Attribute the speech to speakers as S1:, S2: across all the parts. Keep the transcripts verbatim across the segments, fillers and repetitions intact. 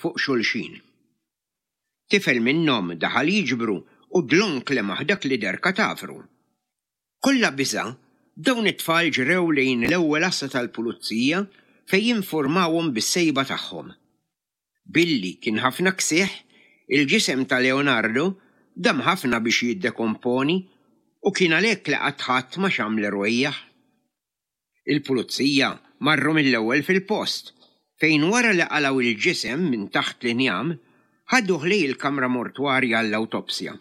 S1: fuq xulxin. Tifel minnhom daħal jiġbru u dlonk lemaħ dak li deher katavru. Kollha biża', dawn it-tfal ġrew lejn l-ewwel għassa tal-pulizija fejn informawhom bis-sejba tagħhom. Billi kien ħafna ksieħ, il-ġisem ta' Leonardo dam ħafna biex jiddekomponi u kien għalhekk li qatt ħadd ma xam l-irwejjaħ. Il-pulizija marru mill-ewwel fil-post fejn wara li qalgħu il-ġisem minn taħt l-injam ħaduh lejn il-kamra mortwarja għall-awtopsja.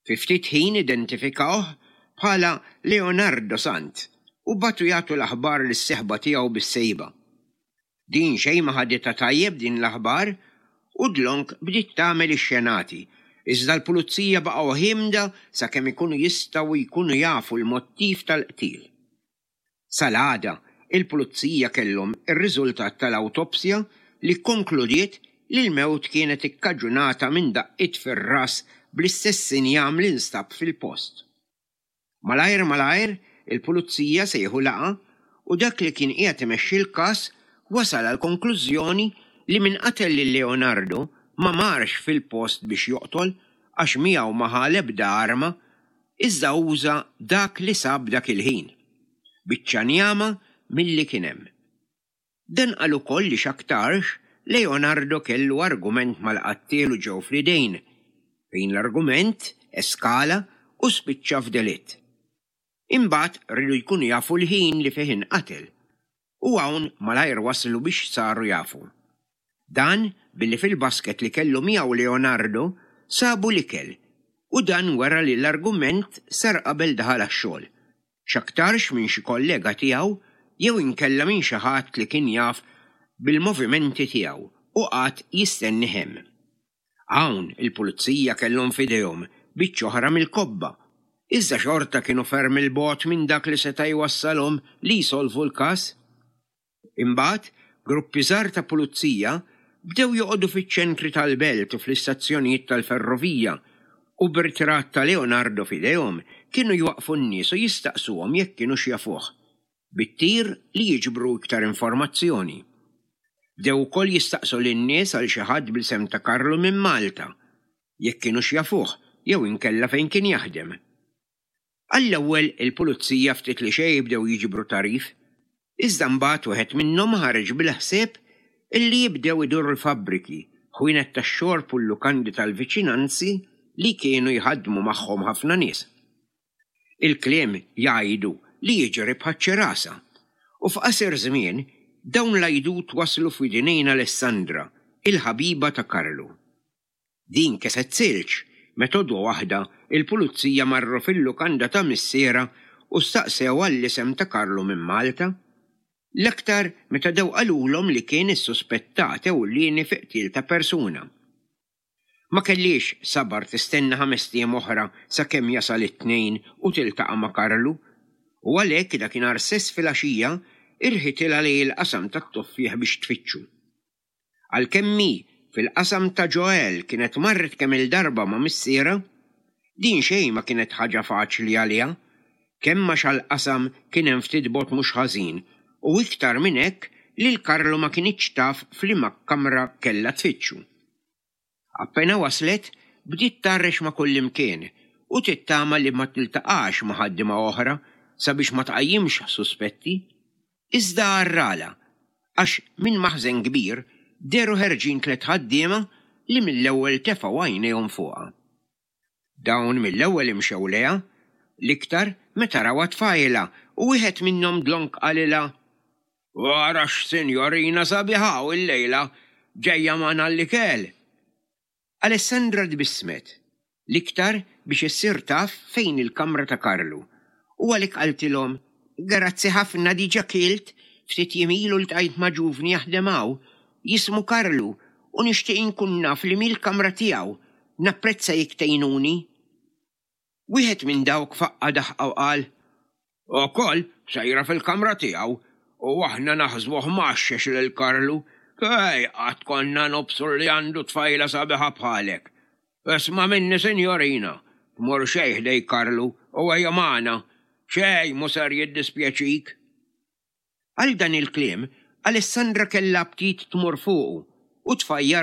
S1: Fi ftit ħin identifikawh bħala Leonardo Sant u bagħtu jagħtu l-aħbar lis-sieħba tiegħu bis-sejba. Din xejn ma ħaditha tajjeb din l-aħbar u dlonk bdiet tagħmel ix-xenati, iżda l-pulizija baqgħu ħiemda sakemm ikunu jistgħu jkunu jafu l-mottiv tal-qtil. Sal-għada, il-pulizija kellhom ir-riżultat tal-awtopsja li konkludiet li l-mewt kienet ikkaġunata minn daqqiet fir-ras bl-istess injam li nstab fil-post. Malajr malajr, il-pulizija sejħu laqgħa u dak li kien qiegħed imexxi l-każ wasal għal konklużjoni li min qatel lil Leonardo ma marx fil-post biex joqtol għax miegħu ma ħa l-ebda arma, iżda uża dak li sab dak il-ħin. Biċċa njama milli kien hemm. Dan qal ukoll li x'aktarx Leonardo kellu argument mal-qattiel u ġew fl-idejn, fejn l-argument eskala u spiċċa f'delitt. Imbagħad riedu jkunu jafu l-ħin li fih inqatel u hawn malajr waslu biex saru jafu. Dan billi fil-basket li kellu miegħu Leonardo sabu l-ikel u dan wera li l-argument sar qabel daħal għax-xogħol. X'aktarx minn xi kollega tiegħu jew inkella minn xi ħadd li kien jaf bil-movimenti tiegħu u qagħad jistennih hemm. Hawn il-pulizija kellhom f'idejhom biċċa oħra mill-kobba, iżda xorta kienu ferm 'il bogħod minn dak li seta' jwassalhom li jsolvu l-każ. Imbagħad, gruppi żgħar ta' pulizija bdew joqogħdu fiċ-ċentri tal-belt u fl-istazzjonijiet tal-ferrovija u b'ritratt ta' Leonardo f'idejhom kienu jwaqfu n-nies u jistaqsuhom jekk kienux jafuh, bit-tir li jiġbru iktar informazzjoni. Bdew ukoll jistaqsu lin-nies għal xi ħadd bl-isem ta' Karlu minn Malta, jekk kienux jafuh jew inkella fejn kien jaħdem. Għall-ewwel il-pulizija ftit li xejn bdew jiġbru tagħrif, iżda mbagħad wieħed minnhom ħareġ bil-ħsieb illi jibdew iduru l-fabbriki, ħwienet tax-xorb u l-lukandi tal-viċinanzi li kienu jħaddmu magħhom ħafna nies. Il-kliem jgħidu li jiġri bħaċ-ċirasa u f'qasir żmien dawn l-għajdut waslu f'widnejn Alessandra, il-ħabiba ta' Karlu. Din keset silġ, meta għodwa waħda il-pulizija marru fil-lukanda ta' missiera u staqsew għall-isem ta' Karlu minn Malta. L-aktar meta daw qalulhom li kien is-suspettat ewlieni fi qtil ta' persuna. Ma kellhiex sabar tistenna ħamest ijiem oħra sakemm jasal it-Tnejn u tiltaqa' ma' Karlu, u għalhekk dakinhar stess filgħaxija irħitilha lejn il-qasam tat-tuffieħ biex tfittxu. Għalkemm hi fil-qasam ta' Joel kienet marret kemm il-darba ma' missiera, din xejn ma kienet ħaġa faċli għaliha, kemm għax għall-qasam kien hemm ftit bogħod mhux ħażin u iktar minn hekk lil Karlu ma kinitx taf f'liema kamra kellha tfittxu. Appena waslet, bdiet tgħarrex ma' kullimkien u tittama li ma tiltaqax ma' ħaddiema oħra sabiex ma tqajjimx suspetti. Iżda għarrala, għax minn maħżen kbir dehru ħerġin tliet ħaddiema li mill-ewwel tefgħu għajnejhom fuqha. Dawn mill-ewwel imxew lejha, l-iktar meta rawha tfajla u wieħed minnhom dlonk qalilha: Wara x'sinjorina sabiħa u l-lejla ġejja magħna l-ikel. Alessandra tbissmet, l-iktar biex issir taf fejn il-kamra ta' Karlu, u għalhekk qaltilhom: Grazzi ħafna, diġà kilt, ftit jiem ilu ltqajt ma' ġuvni jaħdem hawn, jismu Karlu, u nixtieq inkun naf li mill-kamra tiegħu, napprezza jekk tgħinuni. Wieħed minn dawk faqqa daħqa u qal: Ukoll sejra fil-kamra tiegħu u aħna naħsbuh mgħaxxex lil Karlu. Ej, qatt konna nobsru li għandu tfajla sabiħa bħalek. Isma' minni, sinjorina, tmur xejn ħdej Karlu u ejja magħna, xejn mhu ser jiddispjaċik. Għal dan il-kliem, Alessandra kellha aptit tmur fuqu, u tfajjarlu